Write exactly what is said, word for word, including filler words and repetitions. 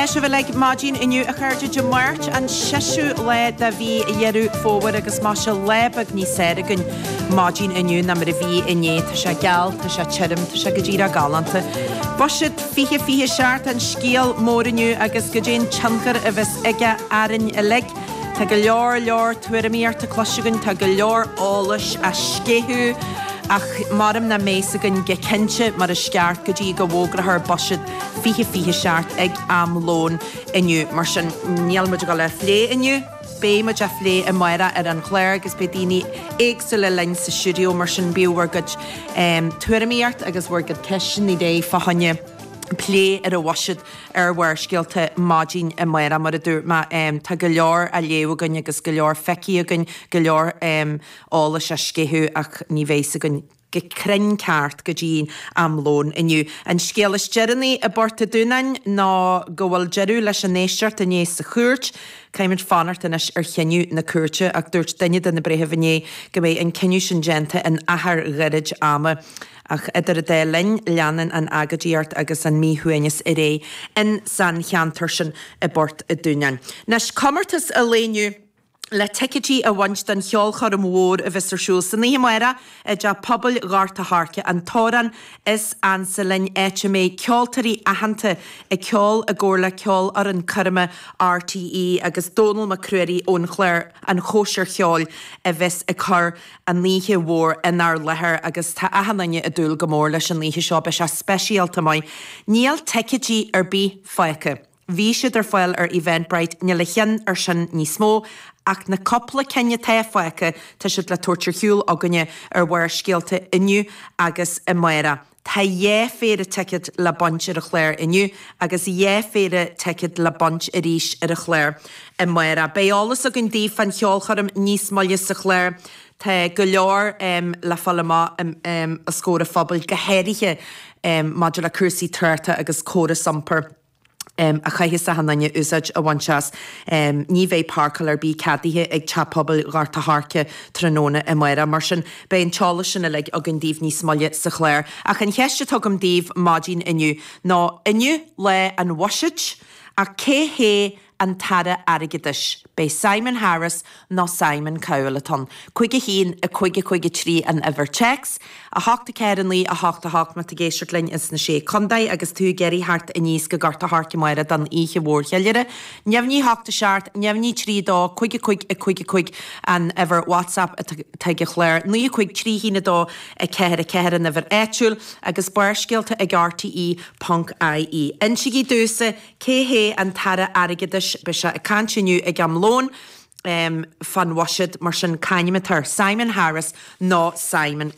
tá sibh uilig maidin inniu a chairde Dé Máirt an seisiú lá de mhí Dheireadh Fómhair agus má lá beag níos fearr againn maidin inniu ná mar a bhí inné tá sé geal tá sé tirim tá sé go díreach galánta. Buiséad fiche fiche seacht an scéal mór inniu agus goidé an tionchar a bheas aige orainn uilig. Tá go leor leor tuairimíochta cloiste againn tá go leor eolais á sceitheadh ach maram na méasa gon go cinnte mar is ceart go dtí go bhfógrófar buiséad fiche fiche seacht ag am lóin inniu mar sin níl muid ag dul á phlé inniu. Beidh muid á phlé amárach ar an chlár agus beidh daoine éagsúla linn sa stiúideo mar sin bíodh bhur gcuid um, tuairimíocht agus bhur gcuid ceisteanna réidh fá choinne plé ar an bhuiséad ar Bharrscéalta maidin amárach mar a dúirt mé um, tá go leor á léamh againn agus go leor feicthe againn go leor um, eolais á sceitheadh ach ní bheidh againn go cruinn ceart go dtí am lóin inniu. An scéal is deireanaí i bPort an Dúnáin ná go bhfuil deireadh leis an éisteacht inné sa chúirt, Caithfimid fanacht anois ar chinneadh na cúirte ach dúirt duine de na breithimh inné go mbeidh an cinneadh sin déanta in achar gairid ama. Ach idir an dá linn leanann an agóidíocht agus an míshuaimhneas ar aghaidh in san cheantar sin i bPort an Dúnáin. Anois comórtas an lae inniu le ticéidí a bhaint don cheolchoirm mhór a bheas ar siúl san oíche amárach i dTeach Pobail Ghort a' Choirce an t-amhrán is ansa linn áit a mbeidh ceoltóirí aitheanta ag ceol i gcomhar le ceolfhoireann coirme RTÉ agus Dónal Mac Ruairí ón chlár an Chóisir Cheoil a bheas ag cur an oíche mhór inár láthair agus tá achan duine ag dúil go mór leis an oíche seo beidh sé speisialta maith. Níl ticéidí ar bith fágtha. Bhí siad ar fáil ar Eventbrite níl a cheann ar sin níos mó, ach na cúpla cinn atá fágtha tá siad le tabhairt ar shiúl againne ar Bharrscéalta inniu agus amárach. Tá dhá phéire ticéad le baint ar an chlár inniu agus dhá phéire ticéad le baint arís ar an chlár amárach. Beidh eolas againn daoibh fán cheolchoirm níos moille sa chlár. Tá go leor um, le fáil amach um, um, os comhair an phobail go háirithe um, maidir le cúrsaí tráchta agus córas iompair. Um, a chaithfidh achan duine úsáid a bhaint as. Um, ní bheidh páirceáil ar bith ceadaithe ag Teach Pobail Ghort a' Choirce tráthnóna amárach mar sin beidh an t-eolas sin uilig againn daoibh níos moille sa chlár. Ach an cheist atá agam daoibh maidin inniu ná inniu lá an bhuiséid ach cé hé an tAire Airgeadais. B'é Simon Harris nó Simon Cowell atá ann. Cúig a haon a cúig a cúig a trí an uimhir téacs, a hocht a ceathair a naoi a hocht a hocht má tá tú ag éisteacht linn ins na sé contae agus tú ag iarraidh theacht aníos go Gort a' Choirce amárach don oíche mhór cheiliúrtha. Neamhní hocht a seacht, neamhní trí dó, cúig a cúig a cúig a cúig an uimhir WhatsApp atá ag an chlár, naoi a cúig trí haon a dó a ceathair a ceathair an uimhir áitiúil agus barrscéalta ag RTE ponc IE. Insígí domhsa cé hé an tAire Airgeadais beidh sé ag caint inniu ag am lóin um, fán bhuiséad mar sin c'ainm atá air Simon Harris nó Simon